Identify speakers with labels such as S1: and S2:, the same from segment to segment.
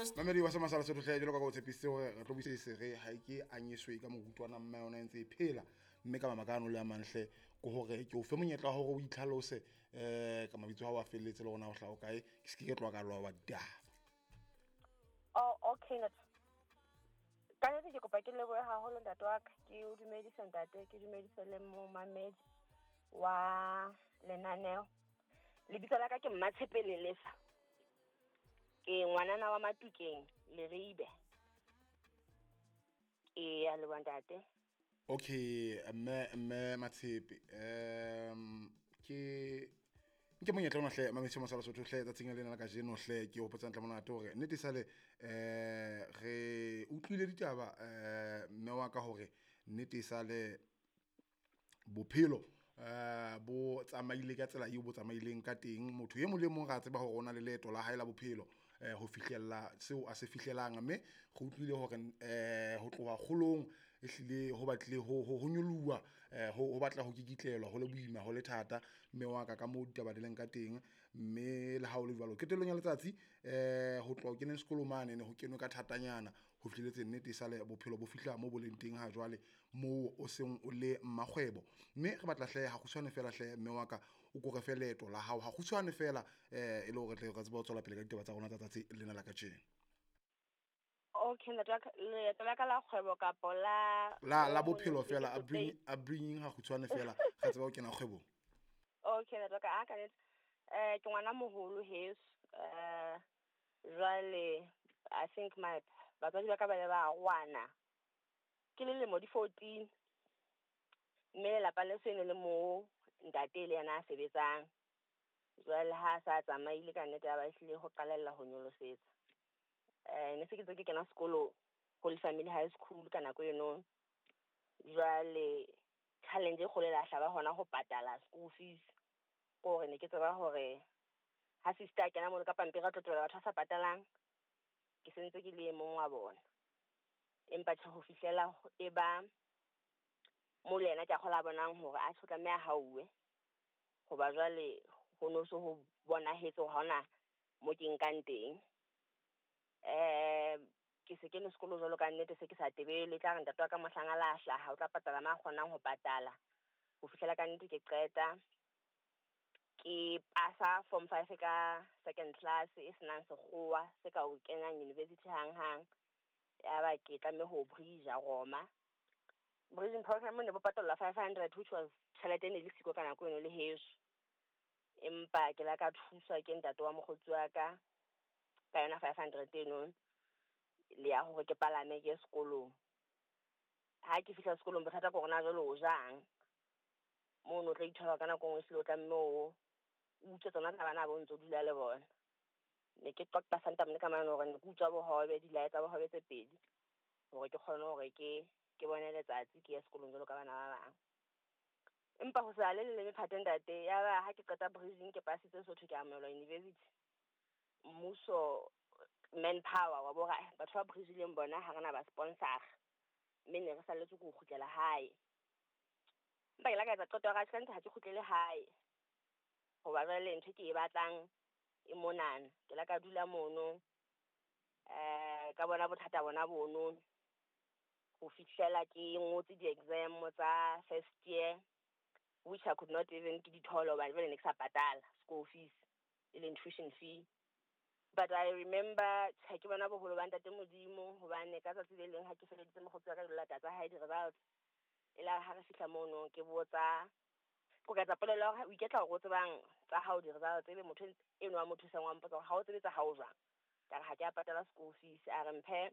S1: Mamedi wa Semasala Sotho hle, jwalo ka o tshepisitse hore re tlo buise sere ha e ke anyeswe ka morutwana mme yona e ntse e phela, mme ka mabaka ano le a mantle ke hore ke o fe monyetla wa hore o itlhalose ka mabitso a hao a felletse le hore na o hlaha o kae, ke se ke tloha ka loba ditaba.
S2: Oh, okay, ntate. Ka nnete ke kopa ke lebohe haholo, ntate wa ka. Ke o dumedise, ntate, ke dumedise le momamedi wa lenaneo. Lebitso la ka ke Mmatshepe Lelefa. Ke ngwanana wa Matukeng, Leribe. Ke ya leboha, ntate.
S1: Okay, mme Matshepe, ke nke monyetla ona hle, mamedi Masala Sotho hle, tsatsing lena la kajeno hle, ke hopotsa ntle monate hore nnete sale re utlwile ditaba, mme wa ka, hore nnete sale bophelo bo tsamaile ka tsela eo bo tsamaileng ka teng. Motho e mong le mong ra tseba hore o na le leeto la hae la bophelo ho fihlella seo a se fihlelang, mme re utlwile hore ho tloha kgolong ehlile ho batlile ho nyoloha, ho batla ho kikitlelwa, ho le boima, ho le thata, mme wa ka moo ditaba di leng ka teng. Mme le ha o le jwalo, qetellong ya letsatsi ho tloha ho keneng sekolo mane ne ho kenwe ka thatanyana ho fihlelletse nnete sale bophelo bo fihla mo boleng teng ha jwale moo o seng o le mmakgwebo. Mme re batla hle ha kgutshwane fela hle, mme wa ka, o ko re fe leeto la hao ha kgutshwane fela, e le hore tle re tsebe ho tswela pele ka ditaba tsa rona tsa tsatsi lena la kajeno.
S2: Okay, ntate wa ka, leeto la ka la kgwebo kapo la
S1: la bophelo fela, upbringing ha kgutshwane fela, re tseba ho kena kgwebong.
S2: Okay, ntate wa ka, a ka nnete. Ke ngwana moholo heso. Jwale I think my batswadi ba ka ba ile ba arohana ke le lemo di 14. Mme lelapa leso e ne le mo ntate le yena a sebetsang. Jwale ha sa tsamaile, ka nnete ya ba ehlile ho qalella ho nyolosetsa. Ne se ke ntse ke kena sekolo Holy Family High School ka nako eno. Jwale challenge e kgolo e la hlaba hona ho patala school fees. Ke hore ne ke tseba hore ha sister a kena mono ka pampiri a tlo tlohela batho ba sa patalang, ke sentse ke le e mong wa bona. Empa tjhe, ho fihlela e ba mo le yena ke a kgola a bonang hore a tjho tlameha hauwe. Hoba jwale ho no so ho bonahetse hore ha hona mo ke nkang teng. Ke se kene sekolo jwalo, ka nnete se ke sa tebele, tla re ntate wa ka mohlang a la hlaha o tla patala ma kgonang ho patala. Ho fihlela ka nnete ke qeta ke pasa form 5 ka second class e senang sekgowa se ka o kenyang university hang hang. Ya ba ke tlameha ho bridge Roma. Bridging program ne bo patallwa 500, which was tjhelete e ne le siko ka nako eno le heso. Empa ke la ka thuswa ke ntate wa mokgotsi wa ka ka yona 500 eno le ya hore ke palame ke ye sekolong. Ha ke fihla sekolong, bothata ke hore na jwale o jang. Mono o tla ithola ka nako e nngwe ehlile o tlameha o utswe tsona tsa bana bo ntso dula le bona. Ne ke qoqa santamne ka mane hore ne ke utswa bohobe, dilae tsa bohobe tse pedi hore ke kgone hore ke bone letsatsi ke ye sekolong jwalo ka bana ba bang. Empa ho sa le le mephato, ntate, ya ba ha ke qeta bridging ke pasitse Sotho, ke amohelwa university. Mmuso manpower wa bo re batho ba bridgileng bona ha rena ba sponsor, mme ne re salletswe ke ho kgutlela hae. Empa ke la ka etsa qeto ya hore atjhe, ka nnete ha ke kgutlele hae. Hoba jwale ntho e ke e batlang e monana. Ke la ka dula mono, ka bona bothata bona bono ho fihlela ke ngotse di-exam tsa first year, which I could not even ke di thole hobane jwale ne ke sa patala school fees e leng tuition fee. But I remember tjhe, ke bona boholo ba ntate Modimo, hobane ka tsatsi le leng ha ke feleditse mokgotsi wa ka dilata tsa hae di-results, e la ha re fihla mono ke botsa ko ka etsa polelo ya hore o iketla hore o tsebang tsa hao di-results, ebe motho eno wa mo thusang wa mpotsa hore ha o tsebe tsa hao jwang. Ka re ha ke a patala school fees. A re mphe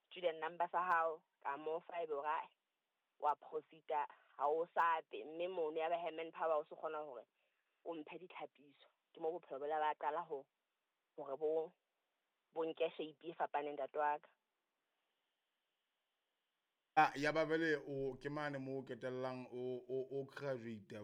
S2: student number sa hao, ka mo fa, ebe hore wa proceed-a ha o sape, mme mono ya ba he manpower o se kgona hore o mphe ditlhapiso. Ke mo bophelo bo la ba qala ho hore bo nke shape e fapaneng, ntate wa ka.
S1: Ah, ya ba bele o ke mane mo o ketellang o graduate.